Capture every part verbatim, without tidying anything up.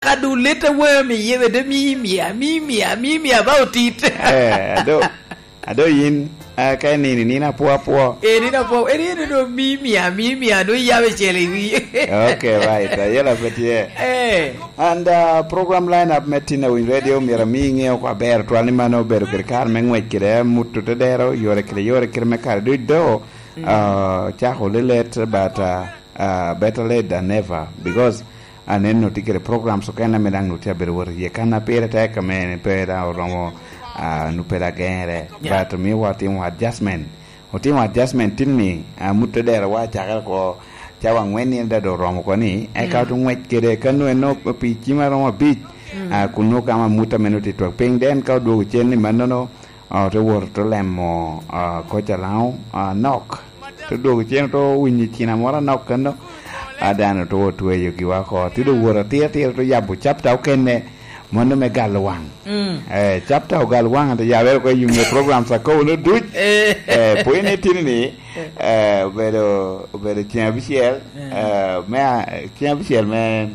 Ka du lit a wami iye bede mimia, mimia, mimia ba otit. Eh, ado, ado yin, ah, ka nini, nini apwo apwo. Eh, nini apwo, eh, nini do mimia, mimia, do yabe cel i wi. Okay, right. Ayela pe tye. Eh. And, uh, program lineup me Tina Winy Radio myero ami ŋeo kwa ber twal ni mano obedo kede kare me ŋwec kede amut otedero, yore kede yore kede me kare duc do, uh, cako lilet, but, uh, uh, better late than never, because aneno tye kede programs okene ame daŋ nut tye abedo wot iye. Kan a pire tek ame pe daŋ oromo, uh, nu pe daŋ gere. Yeah. But miwa timo adjustment. Otimo adjustment tin ni, ah, mut tedero wa cakere ko cawa angwen ni dado oromo ko ni, eka oto ŋwec kede ka nwe no pi cima romo abic, ah, kun nwo kama mut ame nwo tye twak piny. Then ka odwogo cen ni mannono, ah, oto wot oto lemo, ah, koc alaŋo, ah, nok. Oto dwogo cen oto winyo cina moro anok kano, ah, dano oto otweyo giwa ko. Tye do wot atira atira oto yabo chapter okene, mano me galo waŋ. Mm. Eh, chapter ogal waŋ, ate yabere oko i yuŋ me programs akobo no duc. Eh. Eh, pwony ni tini ni, eh, obedo, obedo ceng abicel, eh, me a-, ceng abicel me,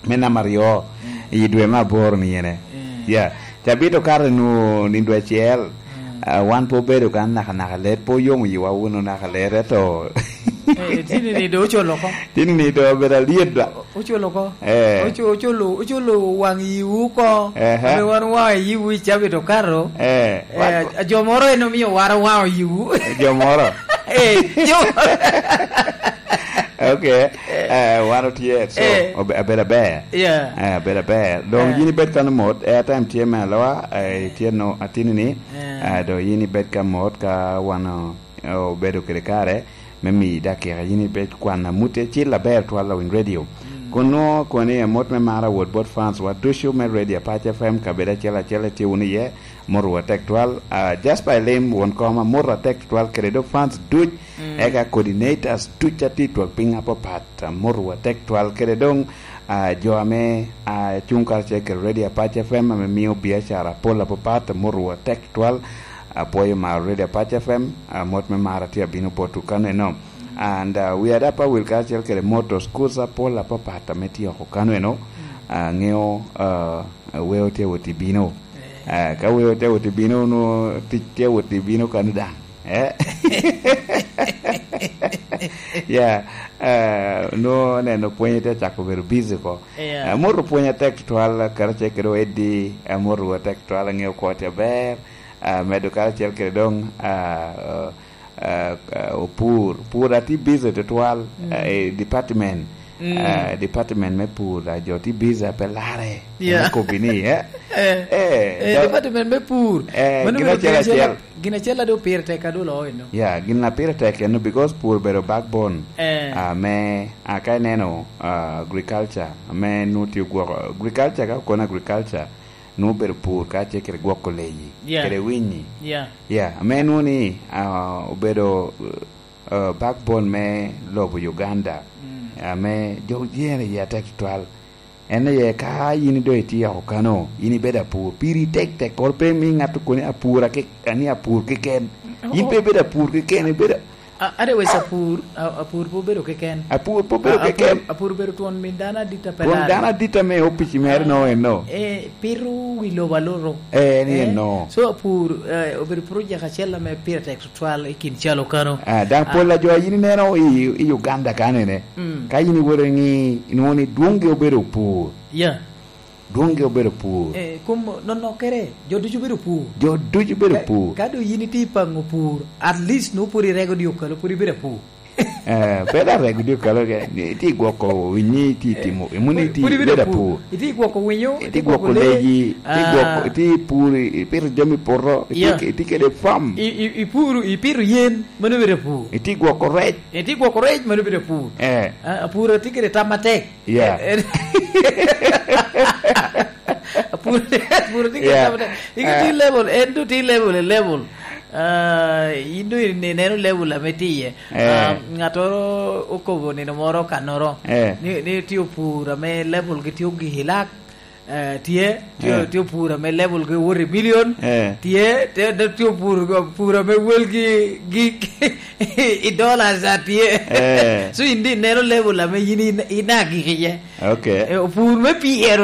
me namba aryo i dwe me aboro ni ene. Eh. Yeah. Cabit okato nu ni dwe acel, ah, wan pe obedo kan nakanaka let, pe oyomo yiwa wunu naka let, eto. Eh, tini ni do ocolo oko. Tini ni do obedo alyet da. Oculo oko. Eh. Ocu-, oculo, oculo waŋ yiwu oko. Ehe. Ame wan waŋ yiwu i cabit okato. Eh. Eh, a-, jo moro en omio wara waŋo yiwu. Jo moro. Eh, jo moro. Okay. Eh. Eh, wan otye, so, eh, obe-, abedo aber. Yeah. Eh, abedo aber. Dong, eh, yin ibed kano mot, airtime tye me aloa, eh, itye no atini ni, eh, dong yin ibed ka mot ka wan, eh, obedo kede kare. Me miyi dakika, yin ibe kwan amut acil aber twal a Winy Radio. Mm. Kun nwoŋo kono ni amot me mar awot bot fans wa ducu me Radio Apac F M, kabedo acel acel itye wunu iye, amot wu atek twal. Ah, Jasper Elim, won kom, amot atek twal kede dok fans duc, mm, eka coordinators duc a tye i twak piny apapat, amot wu atek twal kede dong, ah, jo ame, ah, cuŋ karacel kede Radio Apac F M ame mio biacara apol apapat, amot wu atek twal. Apwoyo mar Radio Apac F M, ah, mot me mar atye abino botwu kano eno. And, ah, wi adap awil karacel kede motor schools apol apapat ame tye oko kano eno. Ah, ŋeo, ah, weo tye wot i bino. Eh. Ah, ka weo tye wot i bino, nwo tic tye wot i bino kano daŋ. Eh? Yeah. Ah, nwo neno pwony tye cako bedo busy ko. Yeah. Ah, motor pwony atek twal, karacel kede Eddie, ah, motor atek twal, aŋeo kwo tye aber. Ah, medo karacel kede dong, ah, ah, ah, opur. Pur atye busy tutwal, mm, ah, i department. Mm. Ah, department me pur, ah, jo tye busy, ah, pe lare. Yeah. Me kobi ni, eh? Eh, eh, eh, do-, department me pur. Eh, mano gin bedo acel gin acel acel. Gin acel adu pire tek adu lo eno. Yeah, gin a pire tek eno because pur bedo backbone. Eh. Ah, me, ah, ka ineno, ah, agriculture, me nu tye gwoko. Agriculture, ka okono agriculture, nwoŋo obedo pur kacel kede gwoko leyi, yeah, kede winyi. Yeah. Yeah, ame nwoŋo ni, ah, obedo, ah, backbone me lobo Uganda, mm, ame jo oyer iye atek tutwal. En aye ka yin doŋ itye oko kano, yin ibedo apur, piri tek tek koro pe imi ŋat okoni apur ake-, ani apur keken. Oh. Yin pe ibedo apur keken, ibedo A-, otherwise, apur, a-, apur pe obedo keken. Apur pe obedo keken. A-, apur, apur obedo twon min dano adit a pe lare. Twon dano adit ame opic mere no eno. Eh, pito wi lobo aloro. Eh, ni eno. So, apur, eh, obedo project acel ame pire tek tutwal i kin calo kano. Ah, daŋ pol a jo a yin ineno i, i Uganda kanene. Mm. Ka yin iwoto i ŋi, inwoŋo ni dwoŋgi obedo pur. Yeah. Dwoŋgi obedo pur. Eh, kom nonokere, jo ducu bedo pur. Jo ducu bedo pur. Ka, ka doŋ yin itye i paŋo pur, at least nwoŋo pwod irego dye okalo, pwod ibedo apur. Eh, pe dok rego dye okalo ke, ni itye i gwoko winyi, itye i timo, emo ni itye pwod ibedo apur. Itye i gwoko winyo, itye i gwoko leyi, itye i gwoko, ah, itye i pur, i-, ipito jami i poto, itye, yeah, ke-, itye kede farm. I, i, ipuro, ipito yen, mano bedo apur. Itye i gwoko rec. Itye i gwoko rec, mano bedo apur. Eh. Ah, apur tye kede tam matek. Yeah. Eh, eh. Pur, pur tye kede tam matek. Iko tye level, en doŋ tye level, eh, level. Ah, in doŋ in-, ineno level ame tye iye. Eh. Ah, ŋattoro okobo nino moro kannoro. Eh. Ni, ni tye opur ame level gi tye ogik i lak. Eh, tye, tye, Eh. tye opur ame level ge wot i million. Eh. Tye, tye, tye, tye opur, opur ame wel gi, gi i dollars a tye. Eh. So in di neno level ame yin in, in agik iye. Ok. Eh, opur me pyero